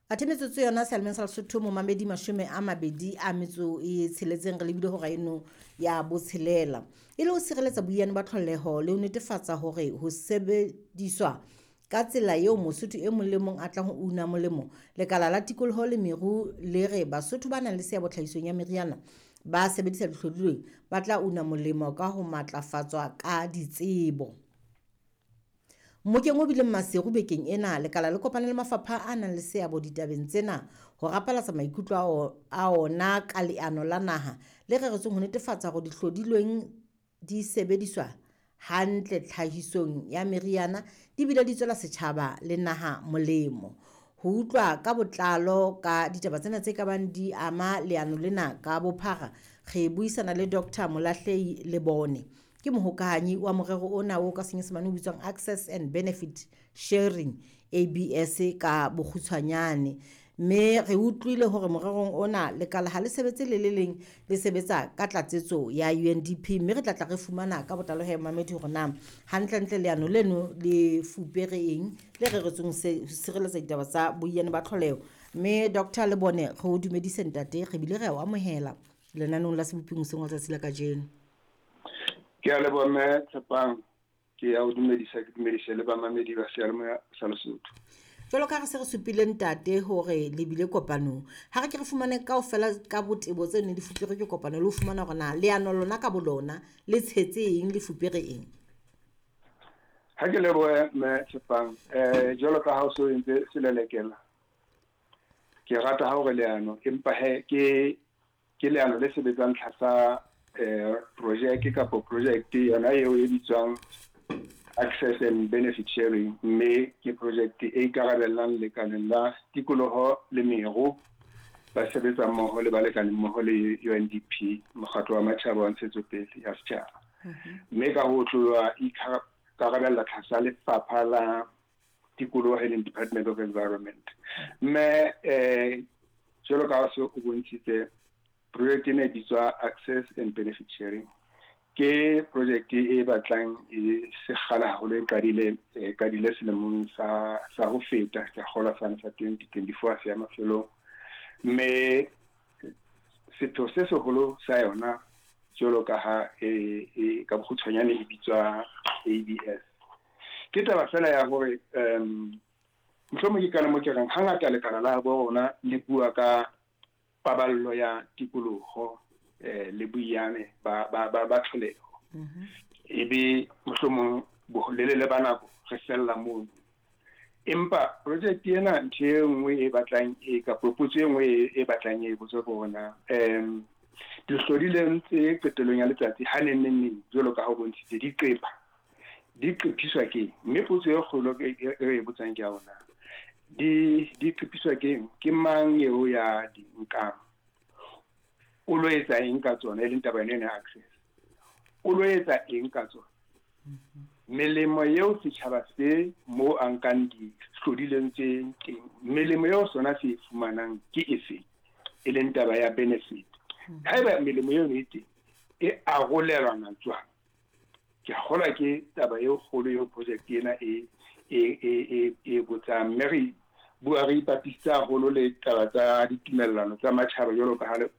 Athe metsotso yona sealemeng sa Lesotho momamedi 26 re lebile hora eno ya botshelela. E le ho sireletsa boiyane ba tlholeho le ho netefatsa hore ho sebediswa ka tsela eo Mosotho e mong le mong a tlang ho una molemo, lekala la tikoloho le meru le re Basotho ba nang le seabo tlhahisong ya meriana ba sebedisa dihlodilweng ba tla una molemo ka ho matlafatswa ka ditsebo. Mmokeng o bileng Maseru bekeng ena, lekala le kopane le mafapha a nang le seabo ditabeng tsena ho rapalatsa maikutlo a ona ka leano la naha le reretsweng ho netefatsa hore dihlodilweng di sebediswa hantle tlhahisong ya meriana di bile di tswela setjhaba le naha molemo. Ho utlwa ka botlalo ka ditaba tsena tse ka bang di ama leano lena ka bophara, re buisana le Dr. Molahlehi Lebone. Ke mohokahanyi wa morero ona o ka senyesemane o bitswang Access and Benefit Sharing, ABS ka bokgutshwanyane. Mme re utlwile hore morerong ona lekala ha le sebetse le le leng, le sebetsa ka tlatsetso ya UNDP, mme re tla tla re fumana ka botlalo he mamedi hore na hantlentle leano leno le fupere eng le reretsweng ho sireletsa ditaba tsa boiyane ba tlholeho. Mme Dr. Lebone, re o dumedise ntate, re bile re a o amohela lenaneong la Seboping hoseng wa tsatsi la kajeno. Ke a leboha mme Tshepang, ke a o dumedisa, ke dumedise le bamamedi ba seyalemoya sa Lesotho. Jwalo ka re se re supile ntate hore le bile kopanong, ha re ke re fumane kaofela ka botebo tse neng di fupere ke kopano le ho fumana hore na leano lona ka bolona le tshetse eng, le fupere eng. Ha ke lebohe mme Tshepang, jwalo ka ha o so entse selelekela, ke rata ha hore leano empa he ke leano le sebetsang tlasa project kapa project yona eo e bitswang Access and Benefit Sharing, mme ke project e ikarabellang lekaleng la tikoloho le meru ba sebetsa mmoho le balekane mmoho le UNDP, mokgatlo wa matjhaba wa ntshetsopele ya setjhaba, mme ka ho tloha ikarabella tlasa lefapha la tikoloho e leng Department of Environment. Mme jwalo ka ha se o bontshitse, project ena e bitswa Access and Benefit Sharing, ke project e batlang e sekgala haholo, e qadile selemong sa ho feta, ke kgolwa sane sa 2024 se ya mafelong. Mme sepheo se seholo sa yona, jwalo ka ha e ka bokgutshwanyane e bitswa ABS, ke taba fela ya hore mohlomong ke kana mo ke reng hangata lekala la bo rona le bua ka paballo ya tikoloho le boiyane ba tlholeho, ebe mohlomong bolelele ba nako re fella mono. Empa project ena, ntho e nngwe e batlang e kapa potso e nngwe e batlang e botswe ke hore na dihlodileng tse qetellong ya letsatsi ha neng neng neng, jwalo ka ha o bontshitse, di qepha di qephiswa ke eng? Mme potso e kgolo e re e botsang ke ya hore na di qephiswa ke eng, ke mang eo ya di nkang, o lo etsa eng ka tsona, e leng taba ena ya access, o lo etsa eng ka tsona, melemo eo setjhaba se mo a nkang dihlodileng tse teng, melemo eo sona se e fumanang ke efe, e leng taba ya benefit. Haeba melemo eo e teng, e arolelwana jwang? Ke a kgolwa ke taba e kgolo eo project ena e botsang. Mme re bua re ipapisitse haholo le taba tsa ditumellano tsa matjhaba, jwalo ka ha le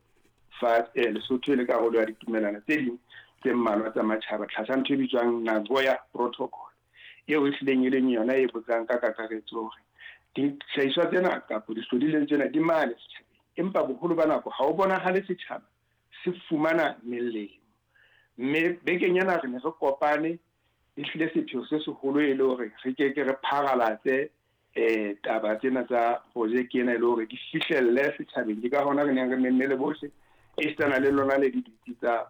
fa Lesotho e le karolo ya ditumellano tse ding tse mmalwa tsa matjhaba tlasa ntho e bitswang Nagoya Protocol, eo e hlileng e leng yona e botsang ka kakaretso hore dihlahiswa tsena kapa dihlodileng tsena di mane setjhabeng, empa boholo ba nako ha o bonahale setjhaba se fumana melemo. Mme bekeng ena re ne re kopane, ehlile sepheo se seholo e le hore re ke ke re pharalatse taba tsena tsa project ena, e le hore di fihlelle setjhabeng. Ke ka hona re neng re memme le bohle, esitana le lona le ditsi tsa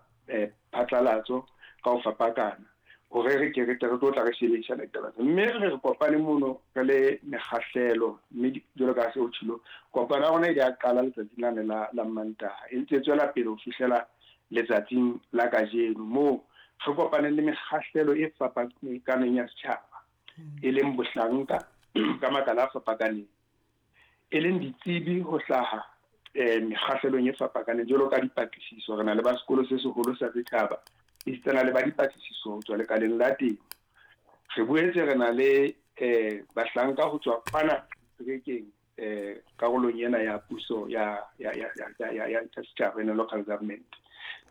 phatlalatso ka ho fapakana, hore re ke re tle re tlo tla re shebedisana ditaba tsena. Mme re kopane mono re le mekgahlelo, mme jwalo ka ha se ho tjhilo, kopano ya rona e ile ya qala letsatsing lane la Mantaha, e ntse e tswela pele ho fihlela letsatsing la kajeno, moo re kopaneng le mekgahlelo e fapakaneng ya setjhaba, e leng bohlanka ka makala a fapakaneng, e leng ditsebi ho hlaha mekgahlelong e fapakaneng, jwalo ka dipatlisiso. Re na le ba sekolo se seholo sa setjhaba, esitana le ba dipatlisiso ho tswa lekaleng la temo. Re boetse re na le bahlanka ho tswa kwana seterekeng. karolong ena ya puso ya ya ya ya ya ya setjhaba, ena local government.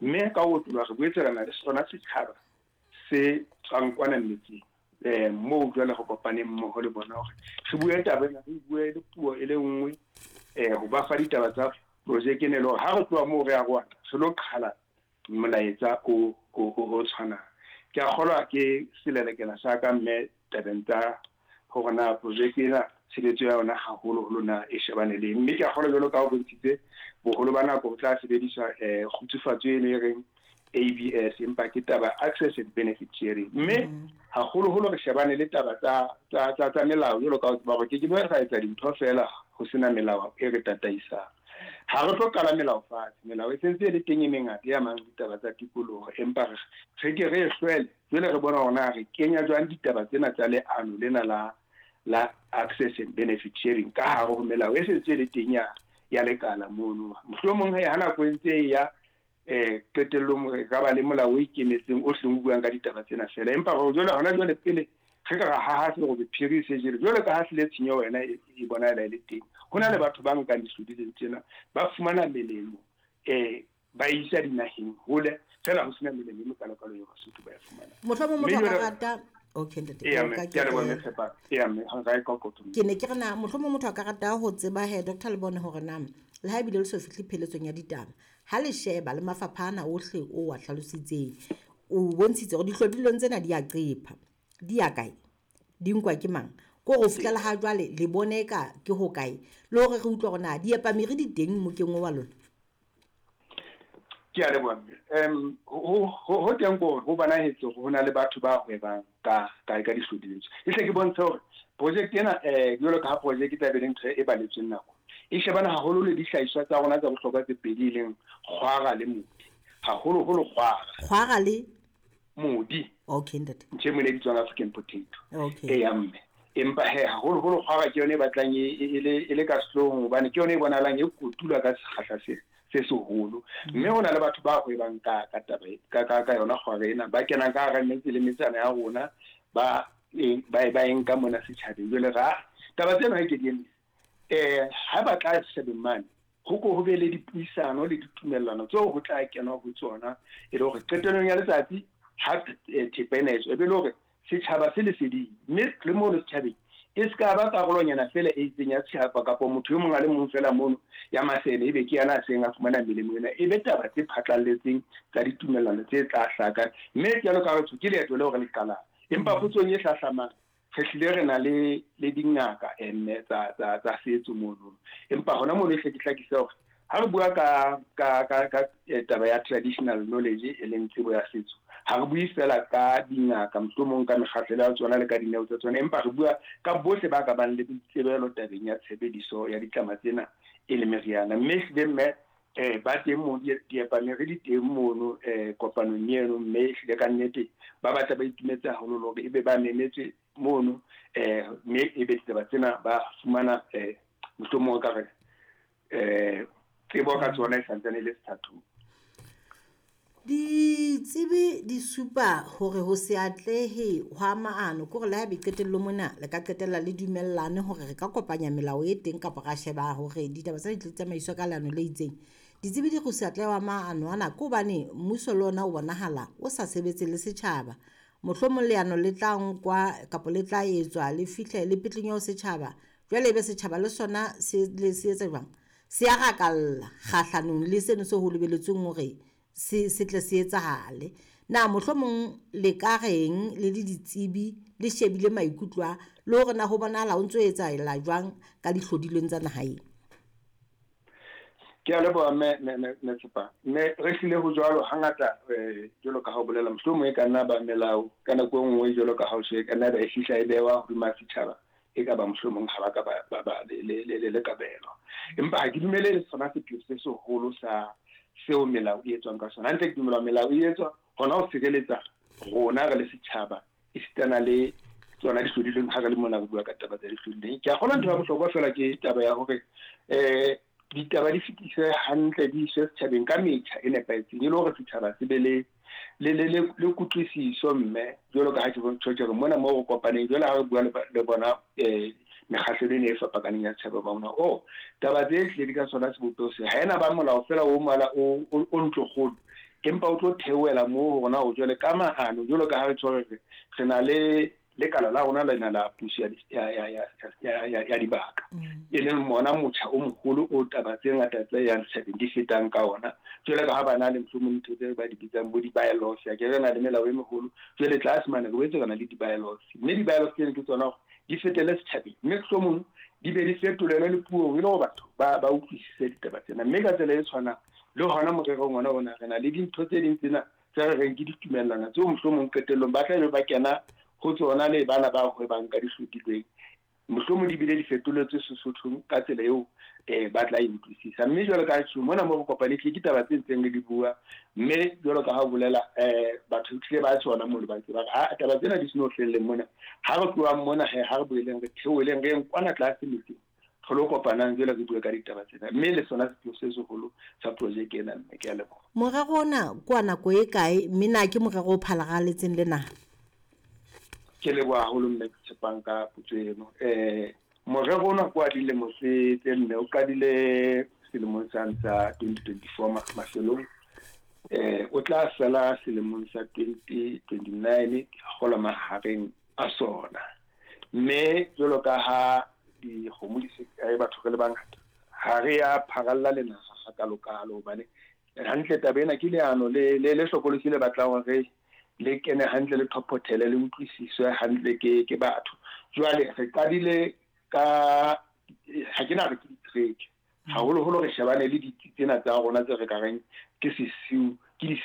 Mme ka ho otloloha re boetse re na le sona setjhaba se tswang kwana metseng, moo jwale re kopaneng mmoho le bona hore re bue taba ena, re bue le puo e le nngwe, ho ba fa ditaba tsa projeke ena, e le hore ha re tloha moo re ya rwana re lo qhala molaetsa o tshwanang. Ke a kgolwa ke selelekela sa ka, mme, tabeng tsa hore na projeke ena tshebetso ya yona haholoholo na e shebane le. Mme ke a kgolwa, jwalo ka o bontshitse, boholo ba nako ho tla sebediswa kgutsufatso eno e reng ABS, empa ke taba access and benefit sharing. Mme haholoholo re shebane le taba tsa melao, jwalo ka o tseba hore ke ke be ra etsa dintho feela ho sena melao e re tataisang. Ha re tlo qala melao fatshe, melao e sentse e le teng e mengata e amang ditaba tsa tikoloho, empa re ke re e hlwele. Jwale re bona hore na re kenya jwang ditaba tsena tsa leano lena la access and benefit sharing ka hare ho melao e sentse e le teng ya lekala mono. Mohlomong he, ha nako e ntse e ya, qetellong re ka ba le molao o ikemetseng o hleng o buang ka ditaba tsena fela. Empa hore jwale hona jwale, pele re ka ra haha serobe phiri se jele, jwale ka ha hlile tshenyo wena e bonahala e le teng, ho na le batho ba nkang dihlodileng tsena, ba fumana melemo, ba isa dinaheng hole fela, ho sena melemo e mekalokalo eo Basotho ba e fumanang. Mohlomong motho a ka rata, okay ntate. Ke a leboha, mme Tshepa. Eya mme, ga e qoqo. Ke ne ke re na mohlomong motho a ka rata ho tseba he, Dr Lebone, hore na le ha ebile le so fihle pheletsong ya ditaba, ha le sheba le mafapha ana ohle o wa hlalositseng, o bontshitse hore dihlodilweng tsena di a qepha, di ya kae, di nkwa ke mang, ko ho fihlela ha jwale le bone ka ke ho kae, le hore re utlwa hore na diepamere di teng mokeng wa lona? Ke a leboha, mme. Ho teng ko ho bonahetse hore ho na le batho ba hwebang ka dihlodileng. E hle ke bontshe hore project ena, jwalo ka ha project e tla be le ntho e baletsweng nako, e shebana haholo le dihlahiswa tsa rona tsa bohlokwa tse pedi, e leng kgwara le modi, haholoholo kgwara. Kgwara le modi. Okay ntate. Ntho e mone e bitswang African potato. Okay. Eya mme, empa he, haholoholo kgwara ke yone e batlang e le ka sehloohong, hobane ke yone e bonahalang e kotulwa ka sekgahla se seholo. Mme ho na le batho ba hwebang ka taba ka yona kgwara ena, ba kenang ka hara metse le metsana ya rona, ba e nka mona setjhabeng. Jwale ra taba tsena ha ke di emise, ha ba tla setjhabeng mane, ho ko ho be le dipuisano le ditumellano tseo ho tla kenwa ho tsona, e le hore qetellong ya letsatsi ha thepa ena e tswa, e be le hore setjhaba se leseding. Mme le mono setjhabeng e se ka ba karolonyana fela e itseng ya setjhaba, kapa motho e mong a le mong fela mono ya masene, ebe ke yana a seng a fumana melemo ena. E be taba tse phatlalletseng tsa ditumellano tse tla hlaka. Mme jwalo ka batho, ke leeto leo re le qalang. Empa potsong e hlahlamang, re hlile re na le dingaka mme tsa setso mono. Empa hona mono e hle ke hlakise hore ha re bua ka taba ya traditional knowledge, e leng tsebo ya setso, ha re bue fela ka dingaka, mohlomong ka mekgahlelo ya tsona le ka dineo tsa tsona, empa re bua ka bohle ba ka bang le boitsebelo tabeng ya tshebediso ya ditlama tsena e le meriana. Mme ehlile mme, ba teng mo, diepamere di teng mono kopanong eno. Mme ehlile ka nnete ba batla ba itumetse haholo le hore ebe ba memetswe mono, mme ebe ditaba tsena ba fumana, mohlomong ka re tsebo ka tsona e santsane e le sethathong. Ditsebi di supa hore ho se atlehe hwa maano ke hore le haebe qetellong mona le ka qetella le dumellane hore re ka kopanya melao e teng, kapa ra sheba hore ditaba tsena di tlo tsamaiswa ka leano le itseng. Ditsebi di re ho se atlehe hwa maano ana ke hobane mmuso le ona o bonahala o sa sebetse le setjhaba. Mohlomong leano le tla nkwa kapa le tla etswa, le fihle le petleng ho setjhaba, jwale ebe setjhaba le sona se le se etsa jwang, se a rakalla kgahlanong le seno se ho lebeletsweng hore se tle se etsahale. Na mohlomong le ka reng le le ditsebi, le shebile maikutlo a le hore na ho bonahala ho ntso etsahala jwang ka dihlodilweng tsa naha ena? Ke a leboha, mme Tshepa. Mme re hlile ho jwalo hangata, jwalo ka ha o bolela, mohlomong e ka nna ba melao ka nako e nngwe, jwalo ka ha o e ka nna ba e fihla e bewa hodima setjhaba, e ka ba mohlomong ha ba ka ba le kabelo. Empa ha ke dumele le sona sepheo se seholo sa seo melao e etswang ka sona. Hantle ke dumela melao e etswa hona ho sireletsa rona re le setjhaba, esitana le tsona dihlodilweng, ha re le mona re bua ka taba tsa dihlodilweng. Ke a kgolwa ntho ya bohlokwa fela ke taba ya hore ditaba di fetiswe hantle, di iswe setjhabeng ka metjha e nepahetseng, e le hore setjhaba se be le kutlwisiso. Mme jwalo ka ha ke bontsho ke re mona moo re kopaneng jwale, ha re bua le bona mekgahlelo ena e fapakaneng ya setjhaba ba bona. Oh, taba tse hlile di ka sona sebopeho se ha ena ba molao fela o mala o ntlokgolo, empa o tlo theohela moo hore na o jwale ka maano, jwalo ka ha re tshwere re na le lekala la rona lena la puso ya dibaka, e leng mona motjha o moholo o taba tse ngata tse yang setjhabeng di fetang ka ona. Jwale ka ha ba na le mohlomong ntho tse ba di bitsang bo di-bylaws, ya ke re na le melao e meholo. Jwale tlase mane re boetse re na le di-bylaws, mme di-bylaws tsena ke tsona hore di fetele setjhabeng, mme mohlomong di be di fetolelwe le puong e le hore batho ba utlwisise ditaba tsena. Mme ka tsela e tshwanang le hona morerong ona ona re na le dintho tse ding tsena tse re reng ke ditumellano tseo mohlomong qetellong ba tla be ba kena ho tsona le bana ba hwebang ka dihlodilweng, mohlomong di bile di fetoletswe Sesothong ka tsela eo ba tla e utlwisisa. Mme jwalo ka tjho mona mo re kopane ke taba tse ntseng re di bua, mme jwalo ka ha o bolela batho tlile ba tsona mo le ba tseba a taba tsena di seno felleng mona. Ha re tlohang mona he ha re boeleng re theoheleng re kwana tlase metseng, re lo kopanang jwale re bue ka ditaba tsena, mme le sona sepheo se seholo sa projeke ena. Mme ke a leboha. Morero ona ke wa nako e kae, mme na ke morero o phalaletseng le naha? Ke leboha haholo mme ke tshepang ka potso eno. Morero ona ke wa dilemo tse nne, o qadile selemong sa 2024 mafelong, o tla fela selemong sa 2029 kgola mahareng a sona. Mme jwalo ka ha dikgomo di se kae, batho re le bangata, ha re ya pharalla le naha hakalokalo, hobane hantle taba ena ke leano le hlokolosi le batlang hore le kene hantle, le thophothele, le utlwisiswe hantle ke batho. Jwale re qadile ka ha ke na re ke ditereke haholoholo, re shebane le ditsi tsena tsa rona tse re ka reng ke sesiu, ke